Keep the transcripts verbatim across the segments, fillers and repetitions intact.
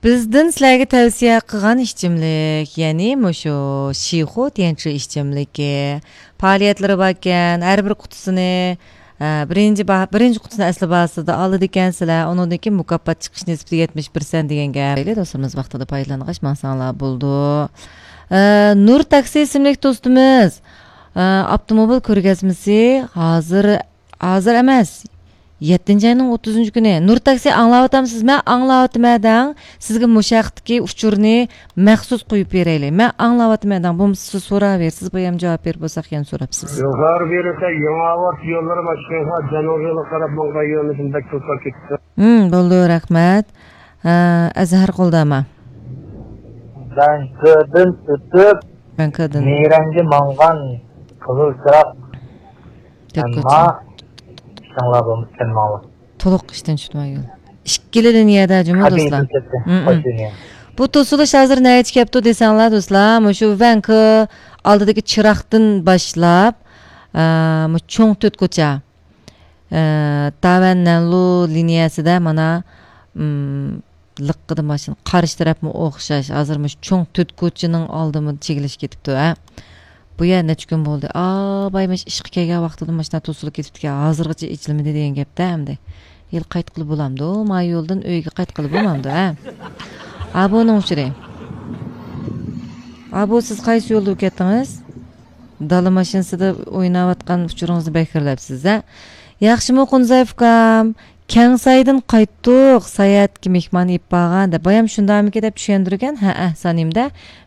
بىزدىن سىلەرگە تەۋسىيە قىلغان ئىچىملىك، يەنى مۇشۇ شىخۇ تيەنچى ئىچىملىكى. پائالىيەتلىرى باركەن، ھەر بىر قۇتىسىنى، ئە، بىرىنچى باھ-، بىرىنچى قۇتىسىنى ئەسلى باھاسىدا ئالىدىكەنسىلەر، ئۇنىڭدىن كېيىن مۇكاپات چىقىش نىسبىتى يەتمىش پىرسەنت دېگەن گەپ. مەيلى، دوستلىرىمىز ۋاقتىدا پايدىلانغاچ ماڭساڭلار بولىدۇ. ئە، نۇر تاكسى ئىسىملىك دوستىمىز، ئە، ئاپتوموبىل كۆرگەزمىسى ھازىر ھازىر ئەمەس، يەتتىنچى ئاينىڭ ئوتتۇزىنچى كۈنى. نۇر تاكسى، ئاڭلاۋاتامسىز؟ مەن ئاڭلاۋاتىمەن دەڭ. سىزگە مۇشۇ ھەقتىكى ئۇچۇرنى مەخسۇس قويۇپ بېرەيلى. مەن ئاڭلاۋاتىمەن دەڭ. بولمىسا سىز سوراۋېرىسىز، بايام جاۋاب بېرىپ بولساق يەنە سوراپسىز. يۇقىرى بېرىسە يېڭى ئاۋات يوللىرى ماشىنىغا جەنۇبىي قاراپ ماڭغان يۆنىلىشىم بەك توسۇلۇپ كېتىپتۇ. ھىم، بولدى، رەھمەت. ئە، ئەزھەر قولداما. بەنكىدىن ئۆتۈپ، بەنكىدىن. مېرەنگە ماڭغان قىزىل چىراغ. دەپ ئەمما كۆرسە. ئىشىڭلار بولمىسا كەلمەڭلار. تولۇق ئىشتىن چۈشتىمۇ يول. ئىككىلا لىنىيەدە جۇمۇ دوستلار. مم. بۇ توسۇلۇش ھازىر نەگىچە كەپتۇ دېسەڭلار دوستلار، مۇشۇ ۋەنكى ئالدىدىكى چىراغدىن باشلاپ، ئە، مۇ چوڭ تۆت كوچا، ئە، تاۋەن نەنلۇ لىنىيەسىدە مانا، مم، لىققىدە ماشىنا، قارشى تەرەپمۇ ئوخشاش. ھازىر مۇشۇ چوڭ تۆت كوچىنىڭ ئالدىمۇ چېگىلىشىپ كېتىپتۇ، ھە. بۇ يەر نەچچە كۈن بولدى. ئا، بايمىش ئىشقا كەلگەن ۋاقتىدا ماشىنا توسۇلۇپ كېتىپتىكەن، ھازىرغىچە ئېچىلمىدى دېگەن گەپتە ئەمدى. ھېلى قايتقىلى بولامدۇ؟ ما يولدىن ئۆيگە قايتقىلى بولامدۇ، ھە؟ ئا، بۇنىڭ ئۇچۇرى. ئا، بۇ سىز قايسى يولدا بولۇپ كەتتىڭىز؟ دالا ماشىنىسىدا ئويناۋاتقان ئۇچۇرىڭىزنى بەكرىلەپسىز، ھە؟ ياخشىمۇ، قۇنزايف ئۇكام؟ كەڭسايدىن قايتتۇق، ساياھەتكە مېھمان ئېلىپ بارغان دەپ. بايام شۇنداقمىكى دەپ چۈشەندۈرگەن. ھەئە، سانىيىمدا.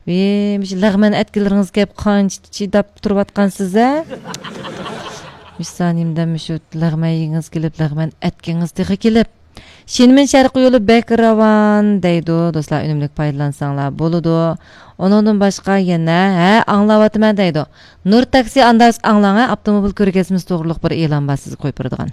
ۋى، مۇشۇ لەغمەن ئەتكىلىرىڭىز كەپ قانچە چىداپ تۇرۇۋاتقانسىز، ھە؟ مۇشۇ سانىيىمدا مۇشۇ لەغمەن يېگىڭىز كېلىپ، لەغمەن ئەتكىڭىز تېخى كېلىپ. شىنمىن شەرقىي يولى بەك راۋان دەيدۇ، دوستلار، ئۈنۈملۈك پايدىلانساڭلار بولىدۇ. ئۇنىڭدىن باشقا يەنە، ھە، ئاڭلاۋاتىمەن دەيدۇ. نۇر تاكسى، ئانداز ئاڭلاڭ، ھە، ئاپتوموبىل كۆرگەزمىسى توغرۇلۇق بىر ئېلان بار سىزگە قويۇپ بېرىدىغان.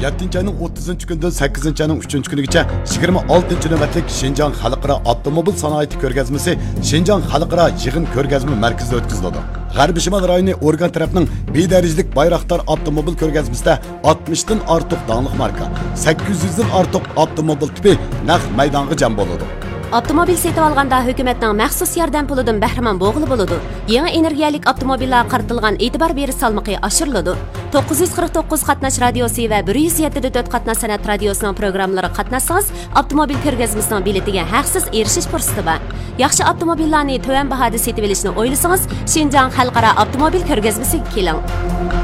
يەتتىنچى ئاينىڭ ئوتتۇزىنچى كۈنىدىن سەككىزىنچى ئاينىڭ ئۈچىنچى كۈنىگىچە يىگىرمە ئالتىنچى نۆۋەتلىك شىنجاڭ خەلقئارا ئاپتوموبىل سانائىتى كۆرگەزمىسى شىنجاڭ خەلقئارا يىغىن كۆرگەزمە مەركىزىدە ئۆتكۈزۈلىدۇ. غەربىي شىمال رايونى ئورگان تەرەپنىڭ بىدەرىجىلىك بايراقدار ئاپتوموبىل كۆرگەزمىسىدە ئاتمىشتىن ئارتۇق داڭلىق ماركا، سەككىز يۈزدىن ئارتۇق ئاپتوموبىل تىپى نەق مەيدانغا جەم بولىدۇ. ئاپتوموبىل سېتىۋالغاندا ھۆكۈمەتنىڭ مەخسۇس ياردەم پۇلىدىن بەھرىمەن بولغىلى بولىدۇ. يېڭى ئېنېرگىيەلىك ئاپتوموبىللارغا قارىتىلغان ئېتىبار بېرىش سالمىقى ئاشۇرۇلىدۇ. توققۇز يۈز قىرىق توققۇز قاتناش رادىيوسى ۋە بىر يۈز يەتتە دە تۆت قاتناش سەنئەت رادىيوسىنىڭ پروگراممىلىرىغا قاتناشسىڭىز، ئاپتوموبىل كۆرگەزمىسىنىڭ بېلىتىگە ھەقسىز ئېرىشىش پۇرسىتى بار. ياخشى ئاپتوموبىللارنى تۆۋەن باھادا سېتىۋېلىشنى ئويلىسىڭىز، شىنجاڭ خەلقئارا ئاپتوموبىل كۆرگەزمىسىگە كېلىڭ.